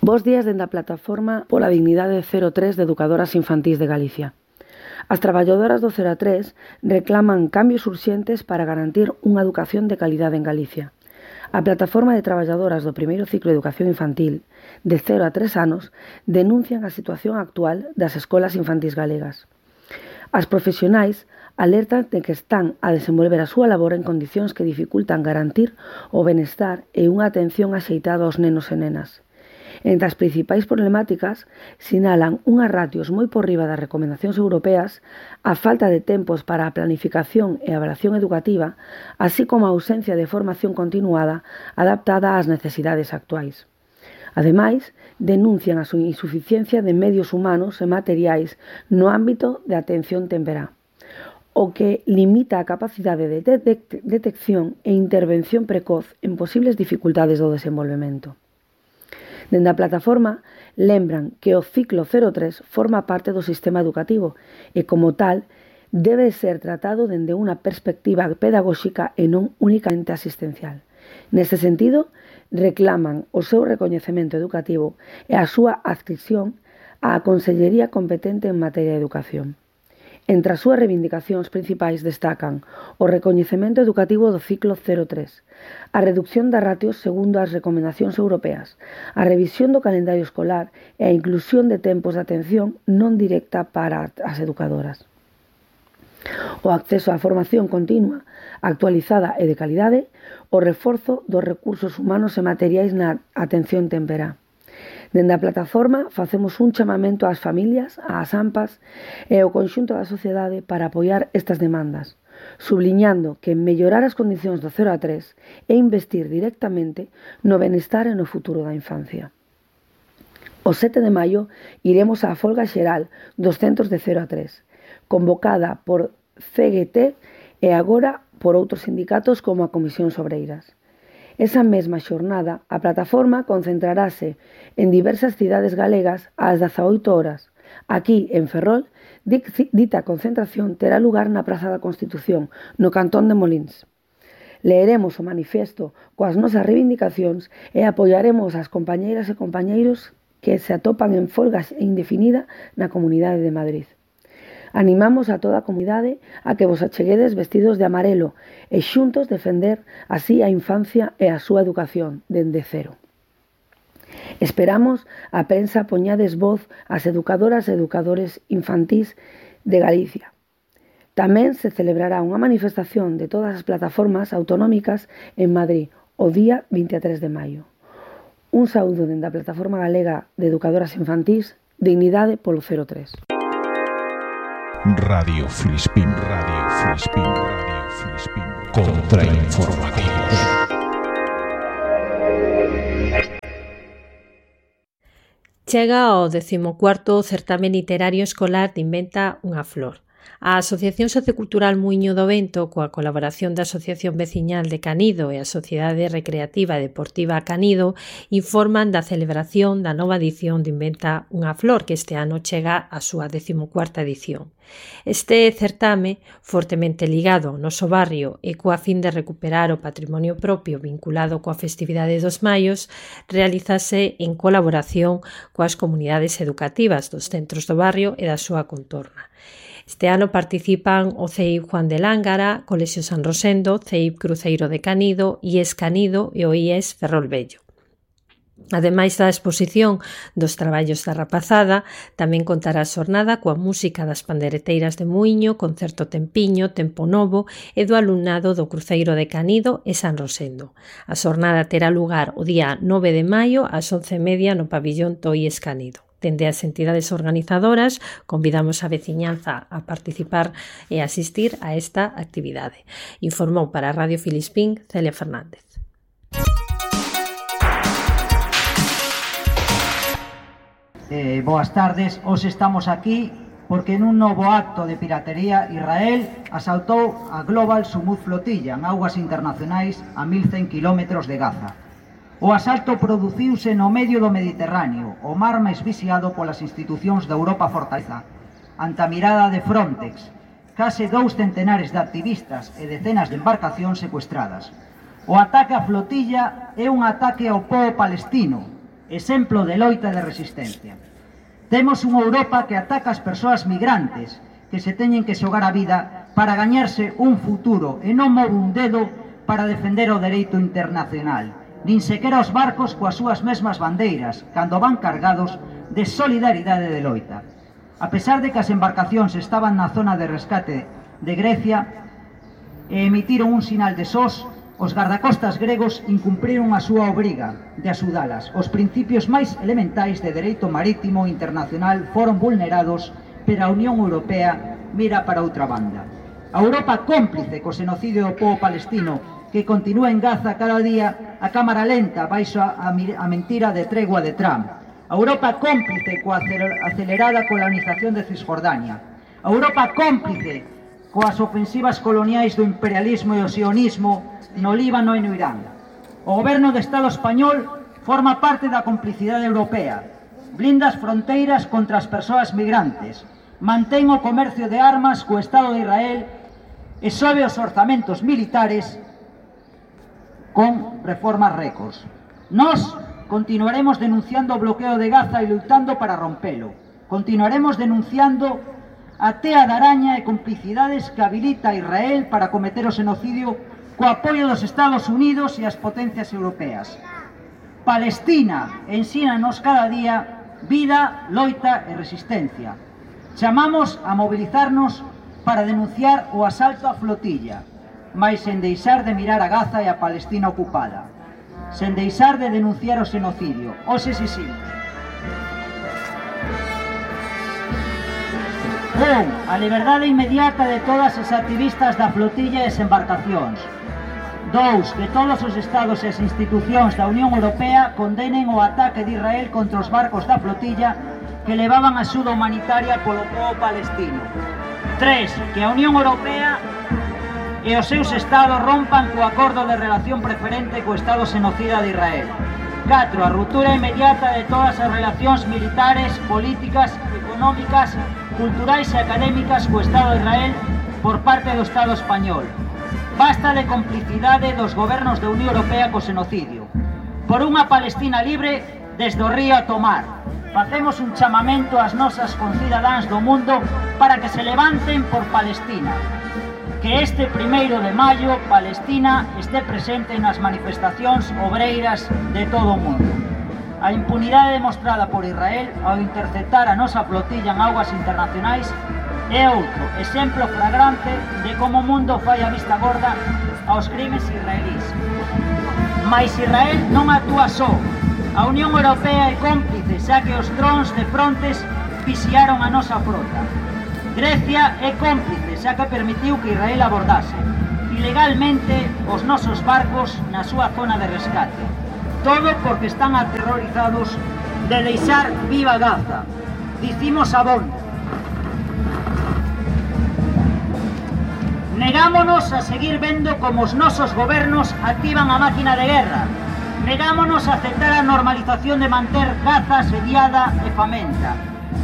Bos días dende a plataforma pola dignidade 03 de Educadoras Infantís de Galicia. As traballadoras do 0 a 3 reclaman cambios urxentes para garantir unha educación de calidade en Galicia. A plataforma de traballadoras do primeiro ciclo de educación infantil, de 0 a 3 anos, denuncian a situación actual das escolas infantís galegas. As profesionais alertan de que están a desenvolver a súa labor en condicións que dificultan garantir o benestar e unha atención axeitada aos nenos e nenas. Entre as principais problemáticas, sinalan unhas ratios moi por riba das recomendacións europeas, a falta de tempos para a planificación e avaliación educativa, así como a ausencia de formación continuada adaptada ás necesidades actuais. Ademais, denuncian a súa insuficiencia de medios humanos e materiais no ámbito de atención temperá, o que limita a capacidade de detección e intervención precoz en posibles dificultades do desenvolvemento. Dende a plataforma, lembran que o ciclo 03 forma parte do sistema educativo e, como tal, debe ser tratado dende unha perspectiva pedagóxica e non únicamente asistencial. Neste sentido, reclaman o seu recoñecemento educativo e a súa adscripción á Consellería competente en materia de educación. Entre as súas reivindicacións principais destacan o recoñecemento educativo do ciclo 03, a reducción das ratios segundo as recomendacións europeas, a revisión do calendario escolar e a inclusión de tempos de atención non directa para as educadoras. O acceso á formación continua, actualizada e de calidade, o reforzo dos recursos humanos e materiais na atención temperá. Dende a plataforma facemos un chamamento ás familias, ás AMPAs e ao conxunto da sociedade para apoiar estas demandas, subliñando que mellorar as condicións do 0 a 3 e investir directamente no benestar e no futuro da infancia. O 7 de maio iremos á folga xeral dos centros de 0 a 3, convocada por CGT e agora por outros sindicatos como a Comisións Obreiras. Esa mesma xornada, a plataforma concentrarase en diversas cidades galegas ás 18 horas. Aquí, en Ferrol, dita concentración terá lugar na Praza da Constitución, no cantón de Molins. Leeremos o manifesto coas nosas reivindicacións e apoiaremos as compañeiras e compañeiros que se atopan en folga indefinida na Comunidade de Madrid. Animamos a toda a comunidade a que vos acheguedes vestidos de amarelo e xuntos defender así a infancia e a súa educación dende cero. Esperamos a prensa poñades voz ás educadoras e educadores infantís de Galicia. Tamén se celebrará unha manifestación de todas as plataformas autonómicas en Madrid o día 23 de maio. Un saúdo dende a Plataforma Galega de Educadoras Infantís, Dignidade polo 03. Radio Filispín, Radio Filispín, Radio Filispín. Contrainformativos. Chega ao 14º certame literario escolar de Inventa unha flor. A Asociación Sociocultural Muíño do Vento, coa colaboración da Asociación Veciñal de Canido e a Sociedade Recreativa e Deportiva Canido, informan da celebración da nova edición de Inventa unha flor, que este ano chega á súa 14ª edición. Este certame, fortemente ligado ao noso barrio e coa fin de recuperar o patrimonio propio vinculado coa festividade dos maios, realízase en colaboración coas comunidades educativas dos centros do barrio e da súa contorna. Este ano participan o CEIP Juan de Lángara, Colexio San Rosendo, CEIP Cruceiro de Canido, IES Canido e o IES Ferrol Vello. Ademais da exposición dos traballos da rapazada, tamén contará a xornada coa música das pandereteiras de Muíño, concerto Tempiño, Tempo Novo e do alumnado do Cruceiro de Canido e San Rosendo. A xornada terá lugar o día 9 de maio ás 11:30 no pabillón do IES Canido. Dende as entidades organizadoras, convidamos a veciñanza a participar e asistir a esta actividade. Informou para Radio Filispín Celia Fernández. Boas tardes, hoxe estamos aquí porque nun novo acto de piratería Israel asaltou a Global Sumud Flotilla en augas internacionais a 1100 km de Gaza. O asalto produciuse no medio do Mediterráneo, o mar máis vixiado polas institucións da Europa fortaleza, ante a mirada de Frontex, case 2 centenares de activistas e decenas de embarcacións secuestradas. O ataque á flotilla é un ataque ao pobo palestino, exemplo de loita e de resistencia. Temos unha Europa que ataca as persoas migrantes que se teñen que xogar a vida para gañarse un futuro e non move un dedo para defender o dereito internacional, nin sequera os barcos coas súas mesmas bandeiras, cando van cargados de solidaridade e de loita. A pesar de que as embarcacións estaban na zona de rescate de Grecia e emitiron un sinal de SOS, os gardacostas gregos incumpriron a súa obriga de axudalas. Os principios máis elementais de dereito marítimo internacional foron vulnerados, pero a Unión Europea mira para outra banda. A Europa cómplice co xenocidio do pobo palestino que continúa en Gaza cada día a cámara lenta baixo a mentira de tregua de Trump. A Europa cómplice coa acelerada colonización de Cisjordania. A Europa cómplice coas ofensivas coloniais do imperialismo e o sionismo no Líbano e no Irán. O goberno do Estado español forma parte da complicidade europea, blinda as fronteiras contra as persoas migrantes, mantén o comercio de armas co Estado de Israel e sobe os orzamentos militares con reformas récords. Nós continuaremos denunciando o bloqueo de Gaza e lutando para rompelo. Continuaremos denunciando a tea de araña e complicidades que habilita a Israel para cometer o xenocidio co apoio dos Estados Unidos e as potencias europeas. Palestina ensínanos cada día vida, loita e resistencia. Chamamos a mobilizarnos para denunciar o asalto á flotilla, mais sen deixar de mirar a Gaza e a Palestina ocupada, sen deixar de denunciar o xenocidio. Os exiximos. 1. A liberdade inmediata de todas as activistas da flotilla e as embarcacións. 2. Que todos os estados e as institucións da Unión Europea condenen o ataque de Israel contra os barcos da flotilla que levaban axuda humanitaria polo pobo palestino. 3. Que a Unión Europea e os seus estados rompan co acordo de relación preferente co estado xenocida de Israel. 4. A ruptura inmediata de todas as relacións militares, políticas, económicas, culturais e académicas co Estado de Israel por parte do Estado español. Basta de complicidade dos gobernos da Unión Europea co xenocidio. Por unha Palestina libre desde o río a tomar. Facemos un chamamento ás nosas concidadáns do mundo para que se levanten por Palestina. Que este 1 de maio Palestina este presente nas manifestacións obreiras de todo o mundo. A impunidade demostrada por Israel ao interceptar a nosa flotilla en augas internacionais é outro exemplo flagrante de como o mundo fai a vista gorda aos crimes israelís. Mais Israel non actúa só. A Unión Europea é cómplice, xa que os drons de Frontex vixiaron a nosa frota. Grecia é cómplice, xa que permitiu que Israel abordase ilegalmente os nosos barcos na súa zona de rescate. Todo porque están aterrorizados de deixar viva Gaza. Dicimos abondo. Negámonos a seguir vendo como os nosos gobernos activan a máquina de guerra. Negámonos a aceptar a normalización de manter Gaza asediada e famenta.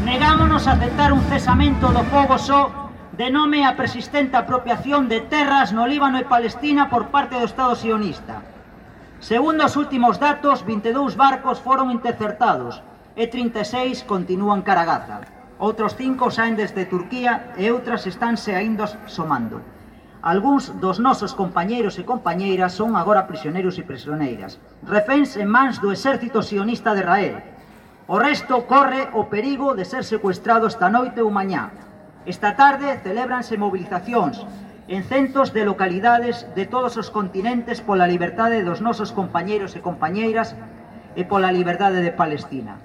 Negámonos a aceptar un cesamento do fogo só de nome a persistente apropiación de terras no Líbano e Palestina por parte do Estado sionista. Segundo os últimos datos, 22 barcos foron interceptados e 36 continúan cara a Gaza. Outros 5 saen desde Turquía e outras estánse aínda somando. Algúns dos nosos compañeiros e compañeiras son agora prisioneiros e prisioneiras, reféns en mans do exército sionista de Israel. O resto corre o perigo de ser secuestrado esta noite ou mañá. Esta tarde celébranse movilizacións en centos de localidades de todos os continentes pola liberdade dos nosos compañeiros e compañeiras e pola liberdade de Palestina.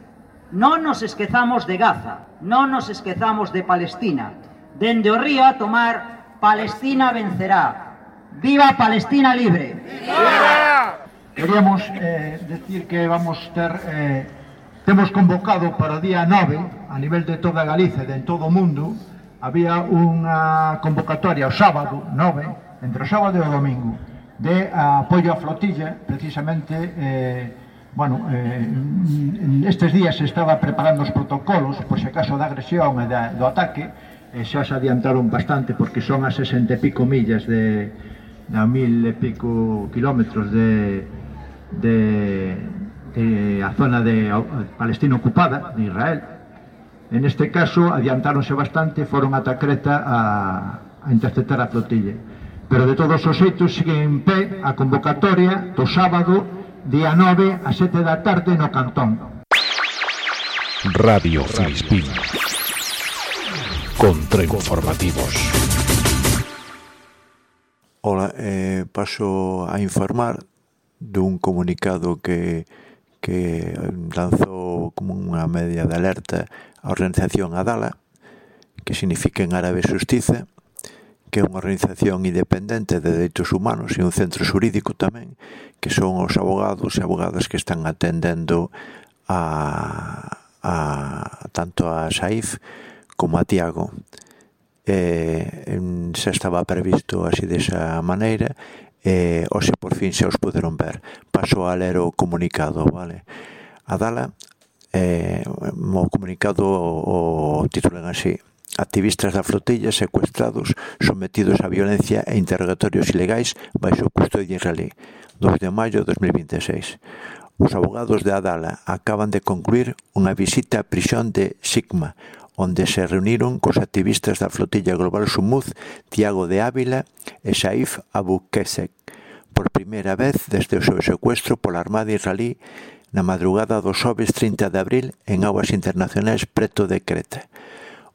Non nos esquezamos de Gaza, non nos esquezamos de Palestina. Dende o río a tomar, Palestina vencerá. ¡Viva Palestina libre! ¡Viva! Queríamos decir que vamos temos convocado para o día 9, a nivel de toda Galicia e de todo o mundo, había unha convocatoria o sábado 9, entre o sábado e o domingo, de apoio á flotilla, precisamente, estes días se estaba preparando os protocolos, por se acaso da agresión e do ataque, xa se adiantaron bastante, porque son a 60 e pico millas a 1000 e pico kilómetros de a zona de Palestina ocupada, de Israel. En este caso, adiantáronse bastante, foron ata Creta a interceptar a flotilla. Pero de todos os xeitos sigue en pé a convocatoria do sábado, día 9, a 7 da tarde no Cantón. Radio Filispín. Contrainformativos. Ola, paso a informar dun comunicado que lanzou como unha media de alerta a organización Adala, que significa en árabe Xustiza, que é unha organización independente de dereitos humanos e un centro xurídico tamén, que son os abogados e abogadas que están atendendo tanto a Saif como a Tiago. Xa estaba previsto así desa maneira, hoxe por fin xa os puderon ver. Paso a ler o comunicado, vale? Adala, o comunicado o titulan así: activistas da flotilla secuestrados, sometidos a violencia e interrogatorios ilegais baixo custodia israelí. 2 de maio de 2026. Os abogados de Adala acaban de concluir unha visita á prisión de Sigma, onde se reuniron cos activistas da flotilla global Sumuz, Tiago de Ávila e Saif Abu Kesek, por primeira vez desde o seu secuestro pola Armada israelí na madrugada do xoves 30 de abril en augas internacionais preto de Creta.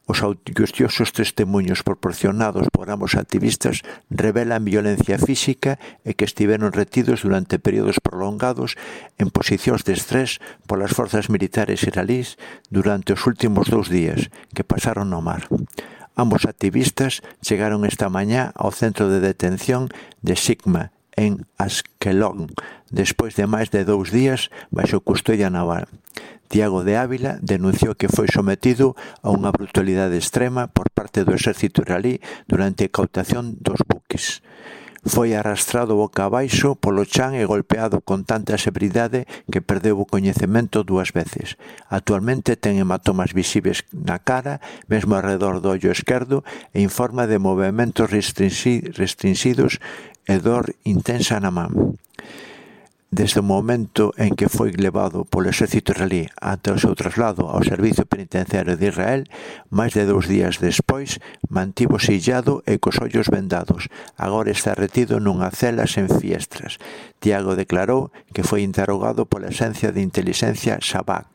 Os angustiosos testemunhos proporcionados por ambos activistas revelan violencia física e que estiveron retidos durante períodos prolongados en posicións de estrés polas forzas militares israelís durante os últimos 2 días que pasaron no mar. Ambos activistas chegaron esta mañá ao centro de detención de Sigma en Askelon, despois de máis de 2 días baixo custodia naval. Tiago de Ávila denunciou que foi sometido a unha brutalidade extrema por parte do exército israelí durante a incautación dos buques. Foi arrastrado boca abaixo polo chan e golpeado con tanta severidade que perdeu o coñecemento 2 veces. Actualmente ten hematomas visibles na cara, mesmo alrededor do ollo esquerdo, e informa de movementos restringidos e dor intensa na man. Desde o momento en que foi levado polo exército israelí ata o seu traslado ao Servicio Penitenciario de Israel, máis de 2 días despois, mantívose illado e cos ollos vendados. Agora está retido nunha cela sen fiestras. Tiago declarou que foi interrogado pola Axencia de Intelixencia Shabak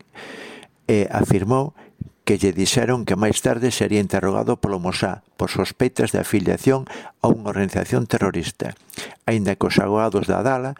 e afirmou que lle dixeron que máis tarde sería interrogado polo Mossad por sospeitas de afiliación a unha organización terrorista. Aínda que os abogados da Adala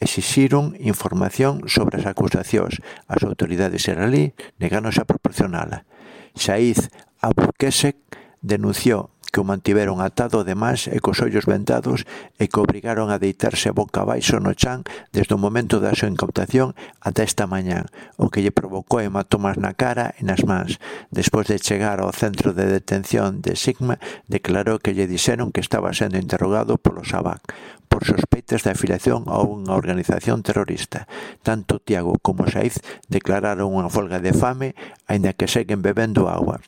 exixiron información sobre as acusacións. As autoridades israelí negáronse a proporcionala. Saif Abu Kesek denunciou que o mantiveron atado de mans e cos ollos vendados e que obrigaron a deitarse boca abaixo no chan desde o momento da súa incautación ata esta mañá, o que lle provocou hematomas na cara e nas mans. Despois de chegar ao centro de detención de Sigma, declarou que lle dixeron que estaba sendo interrogado polo Shabak por sospeitas de afiliación a unha organización terrorista. Tanto Tiago como Saif declararon unha folga de fame, aínda que seguen bebendo agua.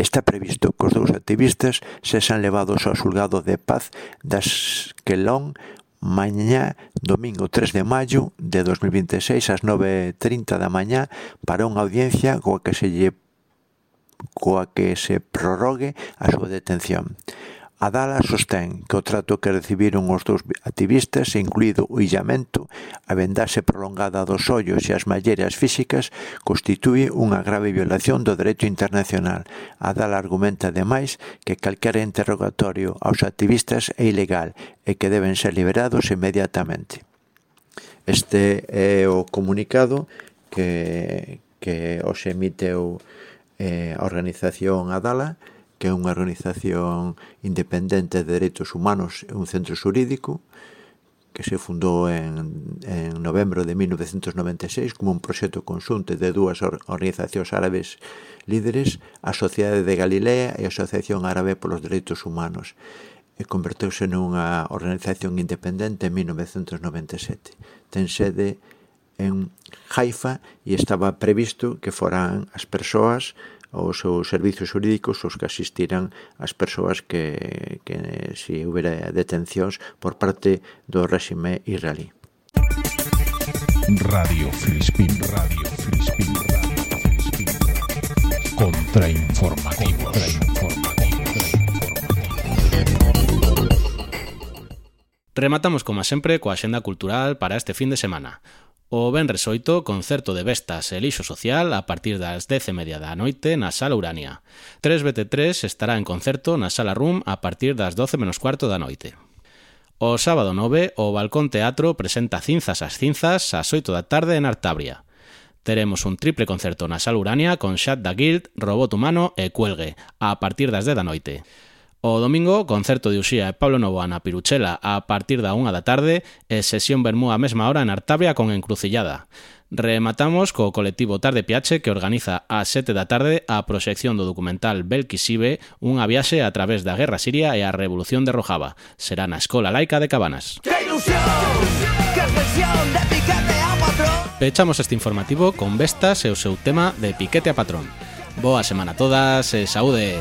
Está previsto que os 2 activistas sexan levados ao xulgado de paz de Askelon mañá, domingo 3 de maio de 2026 ás 9:30 da mañá para unha audiencia coa que se prorrogue a súa detención. Adala sostén que o trato que recibiron os 2 activistas, incluído o illamento, a vendaxe prolongada dos ollos e as malleras físicas, constitúe unha grave violación do dereito internacional. Adala argumenta, ademais, que calquera interrogatorio aos activistas é ilegal e que deben ser liberados inmediatamente. Este é o comunicado que os emiteu a organización Adala, que é unha organización independente de dereitos humanos e un centro xurídico que se fundou en novembro de 1996 como un proxecto conxunto de 2 organizacións árabes líderes, a Sociedade de Galilea e a Asociación Árabe polos Dereitos Humanos, e converteuse nunha organización independente en 1997. Ten sede en Haifa e estaba previsto que foran as persoas os seus servizos xurídicos os que asistiran as persoas que se houbera detencións por parte do réxime israelí. Radio Filispín. Contrainformativos. Rematamos, como sempre, coa axenda cultural para este fin de semana. O venres 8, concerto de Vestas e Lixo Social a partir das 10:30 da noite na Sala Urania. 3BT3 estará en concerto na Sala Room a partir das 12:15 da noite. O sábado 9, o Balcón Teatro presenta Cinzas ás 8 da tarde en Artabria. Teremos un triple concerto na Sala Urania con Shut the Guild, Robot Humano e Cuelgue a partir das 10 da noite. O domingo, concerto de Uxía e Pablo Novoa na Piruchela a partir da 1 da tarde e sesión vermú a mesma hora en Artabria con Encrucillada. Rematamos co colectivo Tarde Piache que organiza a 7 da tarde a proxección do documental Belkisibe, unha viaxe a través da Guerra Siria e a Revolución de Rojava. Será na Escola Laica de Cabanas. Pechamos este informativo con Vestas e o seu tema de Piquete a Patrón. Boa semana a todas e saúde!